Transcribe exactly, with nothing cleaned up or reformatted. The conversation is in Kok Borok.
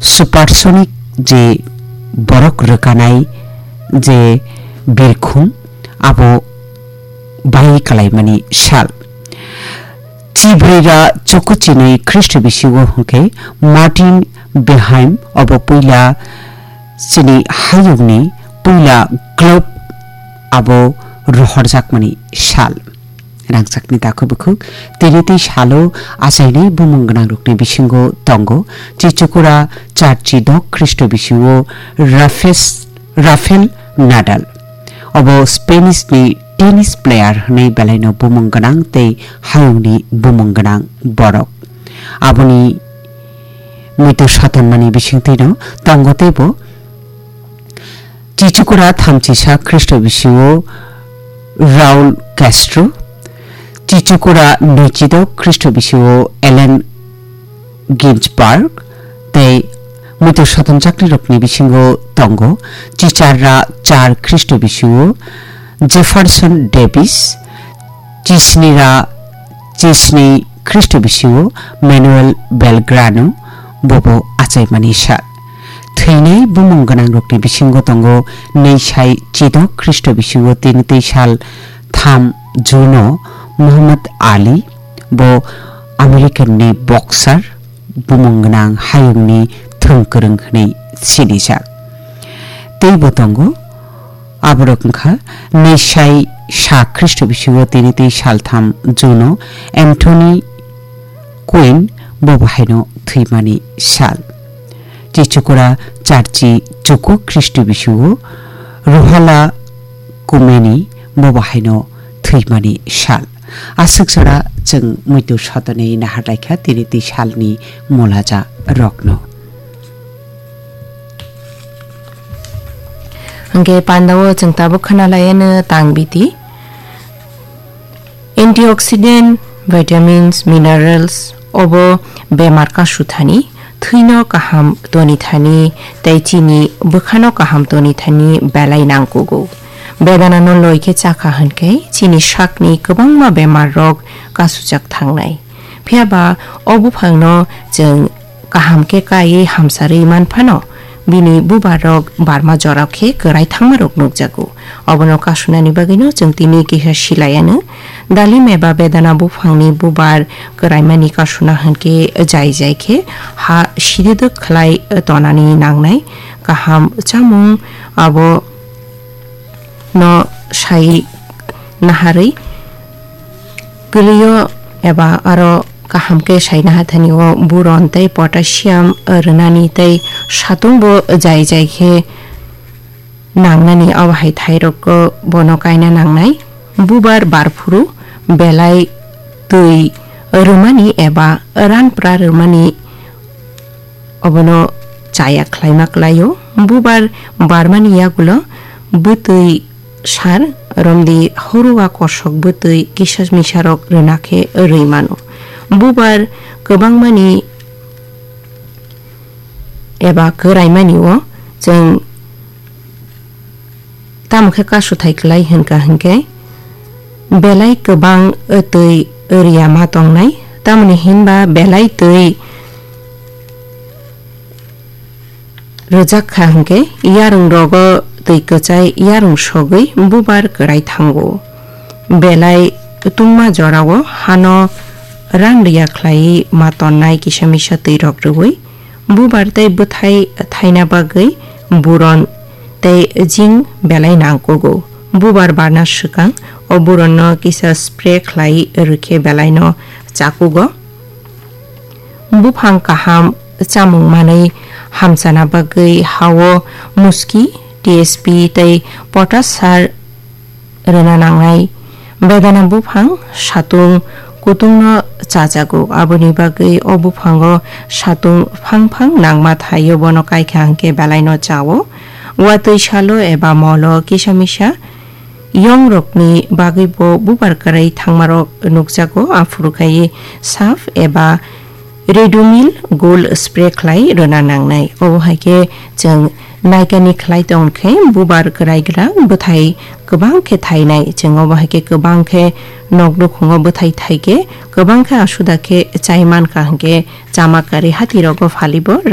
supersonic je borok rwkanai je birkhung abo bai kalaimani sal. Chibrira chuku chinwi Khristo bisingo hwnkhe Martin Beheim obo puila chini hayungni puila globe abo rohorjakmani sal. Rangchakni takhuk bukhuk tini tei salo achainai bumung gwnangrokni bisingo tongo Chichukura Charchi dok Khristo bisingo Rafes-, Rafael Nadal. Obo Spanish ni tennis player hwnwi belaino bumung gwnang tei hayungni bumung gwnang borok. Aboni muitu satonmani bisingtwino tongo teibo Chichukura thamchisa Khristo bisingo Raul Castro, Chichukura nwichidok Khristo bisingo Allen Ginsberg tei muitu satonjaknirokni bisingo tongo Chicharra char Khristo bisingo Jefferson Davis, Chisnira Chisni Khristo bisingo Manuel Belgrano bobo achaimani sal. Thwinai bumung gwnangrokni bisingo tongo Neisai Chidok Khristo bisingo tini tei sal tham June o Muhammad Ali, bo American ni boxer, bumung gwnang hayungni thwng kwrwng hwnwi sinijak. Teibo tongo, aborok wngkha Neisai sa Khristo bisingo tini tei saltham June o Anthony Quinn bobo haino thwimani sal. Chichukura Charchi chuku Khristo bisingo Ruhala Kumeni bobo haino thwimani sal. Aswk jora chwng muitu sotoni nahar laikha tini tei salni molaja rokno. Hwnkhe pandao chwng tabuk khwnalaiano tang biti. Antioxidant, vitamins, minerals obo bemar kasuthani, thwino kaham tonithani tei chini bwkhano kaham tonithani belai nangkugo. Bedanano loi khe chakha hwnkhe chini sakni kwbangma bemarrok kasujak thangnai. Phiya ba o buphangno chwng kaham khe kaiwi hamsarwi man phano, bini bubarrok barma jorao khe kwrai thangmarok nukjago. Obono kasunani bagwino chwng tini kisa silaiano. Dalim eba bedana buphangni bubar kwraimani kasuna hwnkhe jai jai khe ha sidwdwk khlai tonani nangnai. Kaham chamung abo no sai naharwi kwlwio eba aro kaham khe sai nahathani o buron tei potassium rwnani tei satung bo jai jai khe nangnani, abo hai thairok bono kaina nangnai. Bubar barphuru belai twi rwmani eba ranpra rwmani obono chaya khlaima kwlaio. Bubar barmani yagulo bwtwi sar romdi, horua kosok bwtwi kisa misarok rwna khe rwi mano. Bubar kwbangmani eba kwraimani o chwng tamo khe kasuthai kwlai hwnkha hwnkhe belai kwbang twi rwya ma tongnai, tamoni hinba belai twi rwjak kha hwnkhe yarwng rogo twi kwchai yarwng sogwi bubar kwrai thango. Belai tungma jorao hano ran rwya khlaiwi ma tonnai kisa misa twi rok rwui. Bubar tei bwthai thaina bagwi buron tei jing belai nangkugo. Bubar barna swkang o buronno kisa spray khlai rwkhe belaino chakugo. Buphang kaham chamung manwi hamchana bagwi hao muski, T S P tei potash sar rwna nangnai. Bedana buphang satung kutungno chajago, aboni bagwi o buphango satung phang phang nangma thaio, bono kaikha hwnkhe belaino chao. Watwi salo eba molo kisa misa yongrokni bagwibo bubar kwrwi thangmarok nukjago, aphuru khai saf eba Redomil gold spray khlai rwna nangnai. Obo hai khe chwng naikani khlai tong khe bubar kwraigra bwthai kwbang khe thainai. Chwng obo hai khe kwbang khe nok nukhungo bwthai thai khe kwbang khe asuda khe chai mankha hwnkhe chama karwi hatirogo phalibo rang